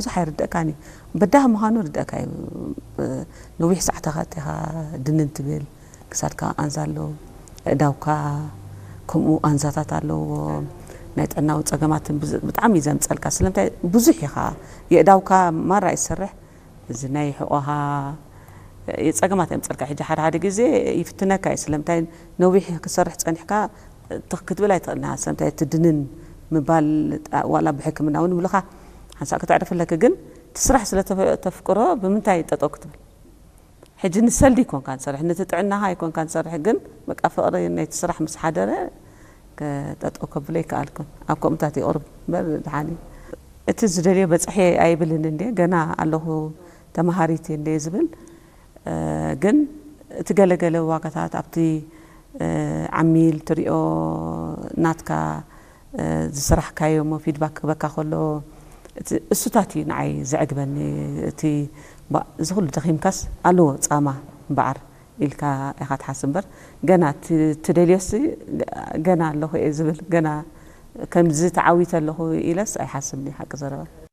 ብዙሕ ኣይርደእካን እዩ። በዳህ ምዃኑ ርደእካ እዩ። ነዊሕ ሰዓታት ኢኻ ድንን ትብል፣ ክሳድካ ኣንዛ ኣሎ፣ ኣእዳውካ ከምኡ ኣንዛታት ኣለዎ። ናይ ጥዕናዊ ጸገማትን ብጣዕሚ እዩ ዘምጸልካ። ስለምንታይ ብዙሕ ኢኻ የእዳውካ ማራ ይሰርሕ፣ እዚ ናይ ሕቆኻ የጸገማት የምጸልካ። ሕጂ ሓደ ሓደ ግዜ ይፍትነካ እዩ። ስለምንታይ ነዊሕ ክሰርሕ ጸኒሕካ ትኽ ክትብል ኣይትኽእልና። ስለምንታይ እቲ ድንን ምባል ዋላ ብሕክምና እውን ይብሉኻ ሓንሳእ ከተዕርፍ ኣለክ፣ ግን እቲ ስራሕ ስለ ተፍ- ተፍቅሮ ብምንታይ ጠጠው ክትብል? ሕጂ ንሰልዲ ኣይኮንካ ንሰርሕ፣ ነቲ ጥዕናኻ ኣይኮንካ ንሰርሕ፣ ግን በቃ ፍቕሪ ናይቲ ስራሕ ምስ ሓደረ ከጠጠው ከብሎ ይከኣልኩን። ኣብ ከምኡታት ይቕርብ እምበር ድሓን እዩ። እቲ ዝደልዮ በጽሐ ኣይብልን እንዴ፣ ገና ኣለኹ ተማሃሪት እንዴ ዝብል፣ እ፣ ግን እቲ ገለገለ ዋጋታት ኣብቲ፣ እ፣ ዓሚል ትሪኦ ናትካ፣ እ፣ ዝሰራሕካዮ እሞ ፊድባክ ክበካ ከሎ እቲ እሱታት እዩ ንዓይ ዘዕግበኒ። እቲ ባ- እዚ ኩሉ ደኺምካስ ኣለዎ ጻማ እምበዓር ኢልካ ኢኻ ትሓስብ እምበር፣ ገና እቲ ትደልዮሲ ገና ኣለኹ እየ ዝብል፣ ገና ከምዚ ተዓዊተ ኣለኹ ኢለስ ኣይሓስብን እየ ሓቂ ዘረባ።